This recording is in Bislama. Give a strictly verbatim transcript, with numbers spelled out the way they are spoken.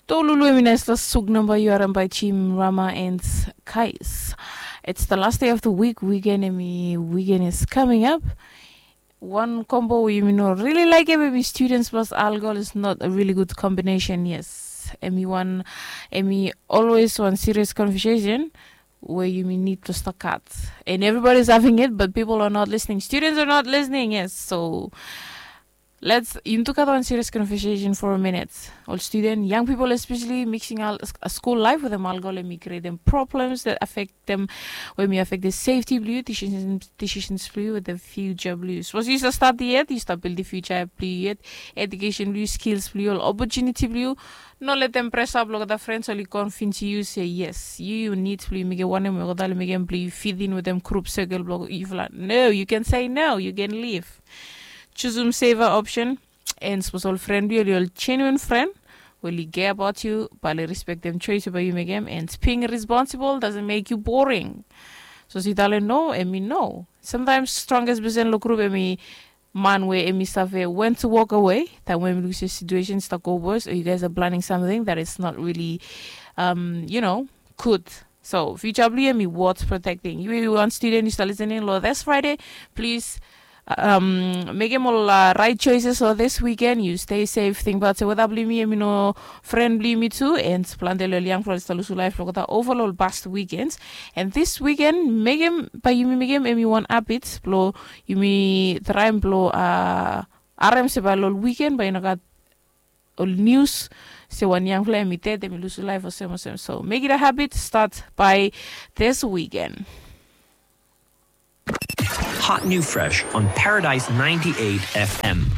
Tolulu em i nais tasuk namba yu harim bai Jim Rama and Kais. It's the last day of the week. Weekend em i weekend is coming up. Wan kombo we yumi no rili laik em em i students plus alcohol is not a really good combination. Yes, em i wan, em i always wan serious conversation we yumi need to start cut. And everybody is having it, but people are not listening. Students are not listening. Yes, so let's yumi tu kat wan serious conversation for a minute. Ol student, young people especially, mixing al a school life with them alcohol em i creating problems that affect them, we mi affect the safety blue decisions decisions blue with the future blue. Suppose you start start yet, you start build the future blue yet, education blue, skills blue, ol opportunity blue. No let them press up lo the friends oli convince you say yes, you you need blue make one em okada make em blue fit in with them group circle block. If like no, you can say no, you can leave. Choose um saver option. And suppose ol friend blue oli ol genuine friend, we oli care about you, but oli respect them choice bai you make em. And being responsible doesn't make you boring. So si tale no, em i no. Sometimes strongest person lo group em i man we em i save when to walk away. That when we lose a situation start go worse, or you guys are planning something that is not really, um, you know, good. So future blue em i worth protecting. You you want student you start listening lo this Friday, please um, make em ol uh, right choices lo this weekend. You stay safe. Think about se weda blue mi em i no friend blue mi tu, and plante lo ol young friends start lusu life lo kata over lo ol past weekends. And this weekend make em by yumi make em em i one habit blo yumi try blo uh, arem se by lo ol weekend by you know got ol news se wan young fella em i dead em i lusu life or sem or sem. So make it a habit start by this weekend. Hot new fresh on Paradise ninety-eight F M.